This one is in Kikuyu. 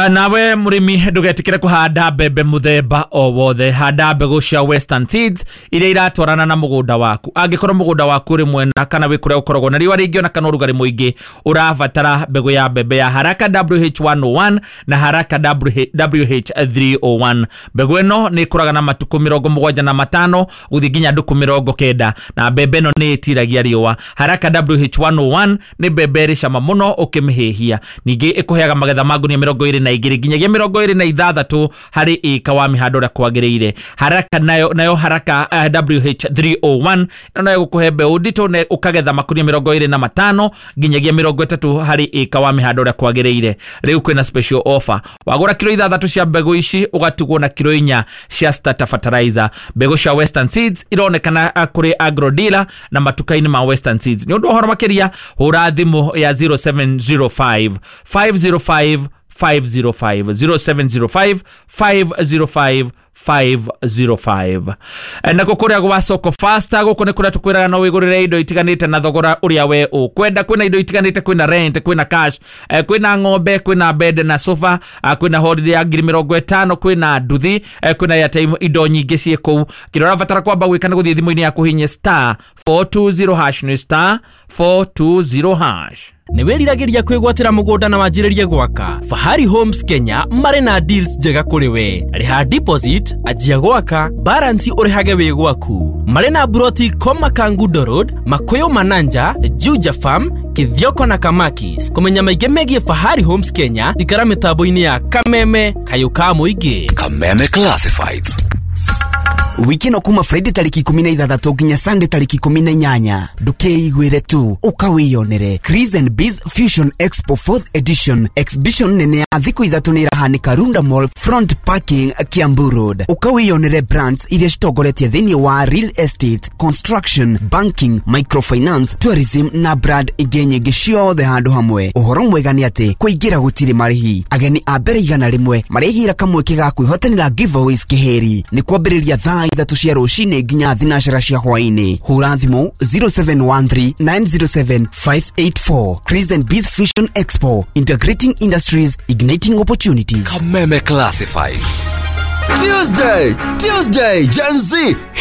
Nawe mũrĩmi, ndũgetikĩre kũhanda mbembe mũthemba o wothe. Handa mbegũ cia Western Seeds iria iratwarana na mũgũnda waku. Angĩkorwo mũgũnda waku ũrĩ mwena kana wĩ kũrĩa ũkoragwo na riũa rĩingĩ ona kana ũrugarĩ mũingĩ, ũrabatara mbegũ ya mbembe ya Haraka WH101 na Haraka WH301. Mbegũ ĩno nĩ ĩkũraga na matukũ 75 gũthiĩ nginya ndukũ 90, na mbembe ĩno nĩ ĩtiragia riũa. Haraka WH101 nĩ mbembe ĩrĩ cama mũno ũkĩmĩhĩhia. Ningĩ ĩkũheaga magetha ma ngunia 22 nginyagia 26 harĩ ĩka wa mĩhando ũrĩa kwagĩrĩire. Haraka nayo Haraka WH301 ĩno nayo ĩgũkũhe mbeũ nditũ na ũkagetha makunia 25 nginyagia 30 harĩ ĩka wa mĩhando ũrĩa kwagĩrĩire. Rĩu kwĩna special offer: wagũra kiro 6 cia mbegũ ici, ũgatigwo na kiro 4 cia starter fertilizer. Mbegũ cia Western Seeds ironekana kũrĩ agro dealer na matuka-inĩ ma Western Seeds. Nĩ ũndũ wa ũhoro makĩria, hũra thimũ ya 0705 505 505, 0705 505 505. Nako kũrĩa gwa Soko Fasta, gũkũ nĩ kũrĩa tũkwĩraga no wĩgũrĩre indo itiganĩte na thogora ũrĩa we ũkwenda. Kwĩna indo itiganĩte, kwĩna rent, kwĩna cash, kwĩna ng'ombe, kwĩna bed na sofa, kwĩna holiday ya 50,000, kwĩna nduthi, kwĩna airtime, indo nyingĩ ciĩ kũu. Kĩrĩa ũrabatara kwamba gwĩka nĩ gũthiĩ thimũ-inĩ yaku, hihinye *420#, nĩ *420#. Nĩ wĩriragĩria kwĩgwatĩra mũgũnda na wanjĩrĩrie gwaka? Fahari Homes Kenya marĩ na deals njega kũrĩ we. Rĩha deposit, anjia gwaka, balance ũrĩhage wĩ gwaku. Marĩ na broti Koma, Kangundo Road, Makuyu, Mananja, Juja Farm, Kithioko na Kamakis. Kũmenya maingĩ megiĩ Fahari Homes Kenya, ikara mĩtambo-inĩ ya Kameme, kayũ ka mũingĩ. Kameme Classifieds. Wiki ĩno, kuma Friday tarĩki 16 nginya Sunday tarĩki 18, ndũkeiguĩre tu, ũkawĩyonere. Chris and Biz Fusion Expo 4th edition, exhibition nene ya thikũ 3 nĩ ĩrahanĩka Runda Mall, front parking, Kiambu Road. Ũkawĩyonere brands iria citongoretie thĩinĩ wa real estate, construction, banking, microfinance, tourism na brand ingĩ nyingĩ, ciothe handũ hamwe. Ũhoro mwega nĩ atĩ kũingĩra gũtirĩ marĩhi. Ageni a mbere 100 marĩgĩra kamweke ga kwĩhotanĩra giveaways kĩhĩri. Nĩ kwambĩrĩria thaa 3 cia rũcinĩ nginya 4 cia hwaĩ-inĩ. Hũra thimũ 0713 907 584. Chris and Biz Fusion Expo, integrating industries, igniting opportunities. Kameme Classifieds. Tuesday, Tuesday, Gen Z.